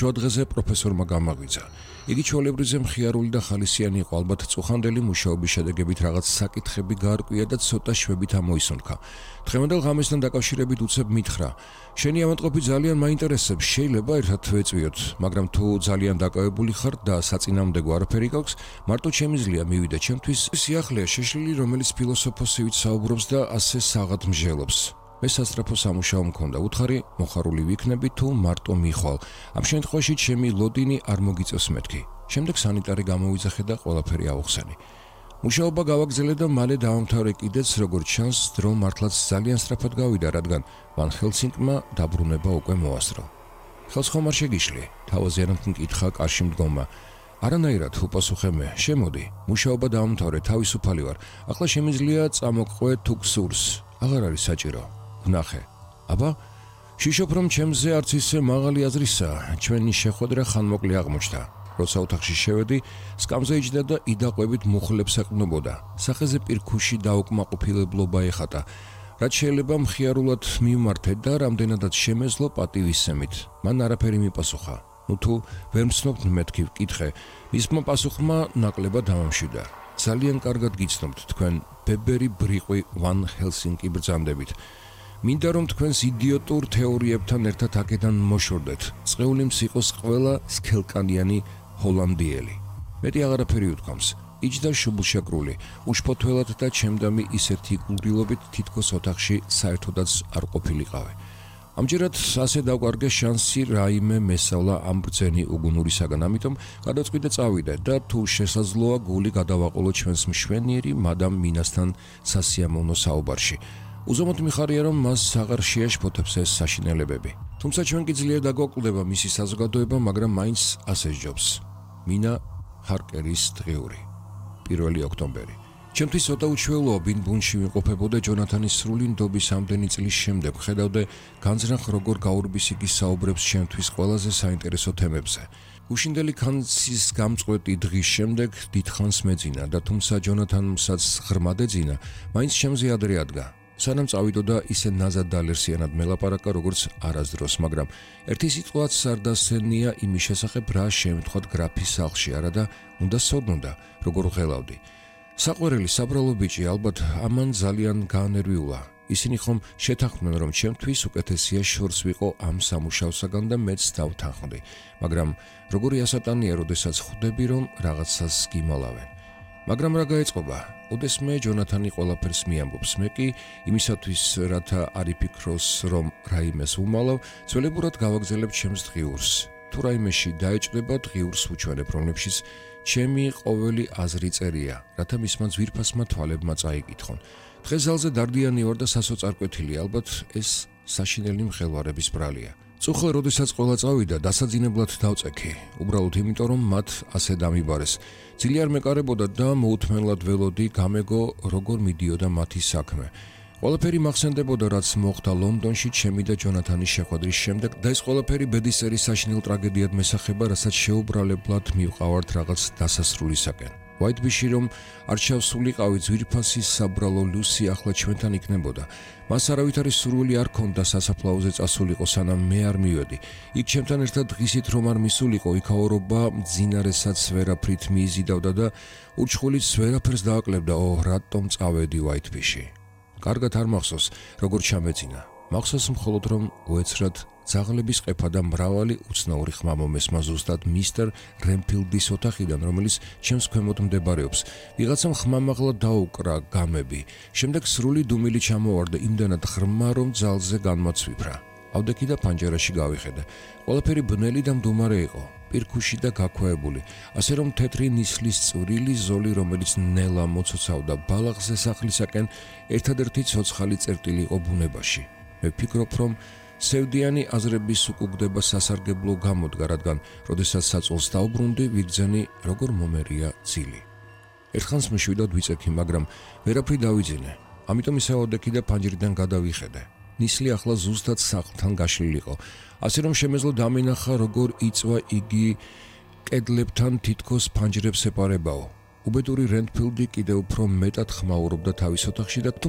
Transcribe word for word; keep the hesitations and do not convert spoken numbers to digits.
შუადღეზე პროფესორმა გამაღვიძა. იგი ჩვეულებრივზე მხიარული და ხალისიანი იყო, ალბათ წუხანდელი მუშაობის შედეგებით რაღაც საკითხები გაარკვია და ცოტა შვებით ამოისუნთქა. დღევანდელ ღამესთან დაკავშირებით უცებ მითხრა: "შენი ავადმყოფი ძალიან მაინტერესებს, შეიძლება ერთად ვეწვიოთ, მაგრამ თუ ძალიან დაკავებული ხარ და საწინააღმდეგო არაფერი გაქვს, მარტო შემიძლია მივიდე ჩემთვის სიახლეა შეშლილი, რომელიც ფილოსოფოსივით საუბრობს და ასე საღად მსჯელობს. მე სასწრაფო სამუშაო მქონდა, უთხარი მოხარული ვიქნები თუ მარტო მიხვალ. ამ შემთხვევაში ჩემი ლოდინი არ მოგიწევს მეთქი. შემდეგ სანიტარი გამოვიძახე და ყველაფერი აუხსენი. მუშაობა გავაგრძელე და მალე დავამთავრე კიდეც, როგორც ჩანს, დრო მართლაც ძალიან სწრაფად გავიდა, რადგან ვან ჰელსინკმა დაბრუნება უკვე მოასწრო. ხელს ხომ არ შეგიშლი? თავაზიანად მკითხა კარში მდგომმა. არანაირად, უპასუხე მე. შემოდი, მუშაობა დავამთავრე, თავისუფალი ვარ. ახლა შემიძლია წამოყვე თუ გსურს. აღარ არის საჭირო. ვნახე. აბა, შიშობ რომ ჩემზე არც ისე მაღალი აზრისა, ჩვენი შეხვედრა ხანმოკლე აღმოჩნდა. როცა ოთახში შევედი, სკამზე იჯდა და იდაყვებით მუხლებს ეყნობოდა. სახეზე პირქუში დაუკმაყოფილებლობა ეხატა. რაც შეიძლება მხიარულად მივმართე და რამდენადაც შემეძლო პატივისცემით. მან არაფერი მიპასუხა. ნუ თუ ვერ მცნობთ მეთქი ვკითხე, მისმა პასუხმა ნაკლებად დამამშვიდა. ძალიან კარგად გიცნობთ თქვენ ბებერი ბრიყვი ვან ჰელსინკი ბრძანდებით. მინდა რომ თქვენს იდიოტურ თეორიებთან ერთად აქედან მოშორდეთ. წყეული მს იყოს ყველა სქელკანიანი ჰოლანდიელი. მეტი აღარაფერი უთქვამს. იჯდა შუბლშეკრული, უშფოთველად და ჩემდამი ისეთი გულგრილობით, თითქოს ოთახში საერთოდაც არ ყოფილიყავი. ამჯერად ასე დავკარგე შანსი რაიმე მესავლა ამ ბრძენი უგუნურისაგან, ამიტომ გადავწყვიტე წავიდე და თუ შესაძლოა გული გადავაყოლო ჩვენს მშვენიერი მადამ მინასთან სასიამოვნო საუბარში. უზომოდ მიხარია რომ მას აღარ შეაშფოთებს ეს საშინელებები. თუმცა ჩვენ კი ძლიერ დაგვაკვდება მისი საზოგადოება, მაგრამ მაინც ასე სჯობს. მინა ჰარკერის დღიური. პირველი ოქტომბერი. ჩემთვის ცოტა უჩვეულოა ბინბუნში ვიმყოფებოდე ჯონათანის სრული ნდობის ამდენი წლის შემდეგ, ხედავდე განზრახ როგორ გაურბის იგი საუბრებს ჩემთვის ყველაზე საინტერესო თემებზე. უშინდელი ქანცის გამწყვეტი დღის შემდეგ დიდხანს მეძინა და თუმცა ჯონათანსაც ღრმად ეძინა, მაინც ჩემზე ადრე ადგა. სანამ წავიდოდა ისე ნაზად დალერსიანად მელაპარაკა, როგორც არასდროს, მაგრამ ერთი სიტყვაც არ დასცენია იმის შესახებ, რა შემთხვევით გრაფის სახლში არა და უნდა სოდნოდა, როგორ ღელავდი. საყვერელი საბრალო ბიჭი ალბათ ამან ძალიან გაანერვიულა. ისინი ხომ შეთანხმდნენ, რომ ჩემთვის უკეთესია შორს ვიყო ამ სამუშაოსაგან და მეც დავთანხმდი, მაგრამ როგორი ასატანია, როდესაც ხვდები, რომ რაღაცას გიმალავენ. მაგრამ რა გაეწყობა? ოდესმე ჯონათანი ყველაფერს მიამბობს, მე კი იმისათვის, რათა არ იფიქროს, რომ რაიმეს ვუმალავ, ძველებურად გავაგზელებ ჩემს დღიურს. თუ რაიმეში დაეჭდება, დღიურს ვუჩვენებ, რომლებშიც ჩემი ყოველი აზრი წერია, რათა მისმა ძვირფასმა თვალებმა წაიკითხონ. დღეს ზალზე დარდიანი ვარ და სასოწარკვეთილი, ალბათ ეს საშინელი მღელვარების ბრალია. წუხლა როდესაც ყველა წავიდა, დასაძინებლად დავწექი, უბრალოდ იმიტომ, რომ მათ ასე დამიბარეს. ძლიერ მეკარებოდა და მოუთმენლად ველოდი, გამეგო როგორ მიდიოდა მათი საქმე. ყველაფერი მახსენდებოდა, რაც მოხდა ლონდონში ჩემი და ჯონათანის შეხვედრის შემდეგ და ეს ყველაფერი ბედისერი საშინელ ტრაგედიად მესახება, რასაც შეუბრალებლად მივყავართ რაღაც დასასრულისაკენ. ვაიტბიში რომ არ ჩავსულიყავი ძვირფასი საბრალო ლუსი ახლა ჩვენთან იქნებოდა. მას არავითარი სურვილი არ ქონდა სასაფლაოზე წასულიყო, სანამ მე არ მივედი. იქ ჩემთან ერთად დღისით რომ არ მისულიყო, იქაურობა მძინარესაც ვერაფრით მიიზიდავდა და ურჩხულიც ვერაფერს დააკლებდა. ო, რატომ წავედი ვაიტბიში? კარგად არ მახსოვს, როგორ ჩამეძინა. მახსოვს მხოლოდ რომ უეცრად ძაღლების ყეფა და მრავალი უცნაური ხმა მომესმა ზუსტად მისტერ რენფილდის ოთახიდან, რომელიც ჩემს ქვემოთ მდებარეობს. ვიღაცამ ხმამაღლა დაუკრა გამები. შემდეგ სრული დუმილი ჩამოვარდა იმდანად ღრმა, რომ ძალზე განმაცვიფრა. ავდექი და პანჯერაში გავიხედე. ყველაფერი ბნელი და მდუმარე იყო, პირქუში და გაქვეებული, ასე რომ თეთრი ნისლის წვრილი ზოლი, რომელიც ნელა მოცოცავდა ბალახზე სახლისაკენ, ერთადერთი ცოცხალი წერტილი იყო ბუნებაში. მე ვფიქრობ, რომ სევდიანი აზრების უკუგდება სასარგებლო გამოდგა, რადგან როდესაც საწოლს დაუბრუნდი, ვიგრძენი როგორ მომერია ძილი. ერთხანს მეშვიდად ვიწექი, მაგრამ ვერაფრი დავიძინე. ამიტომ ისევ ავდექი და პანჯრიდან გადავიხედე. ნისლი ახლა ზუსტად სახლთან გაშლილიყო, ასე რომ შემეძლო დამინახა, როგორ იწვა იგი კედლებთან თითქოს ფანჯრებს ეპარებაო. უბედური რენფილდი კიდევ უფრო მეტად ხმაურობდა თავის ოთახში და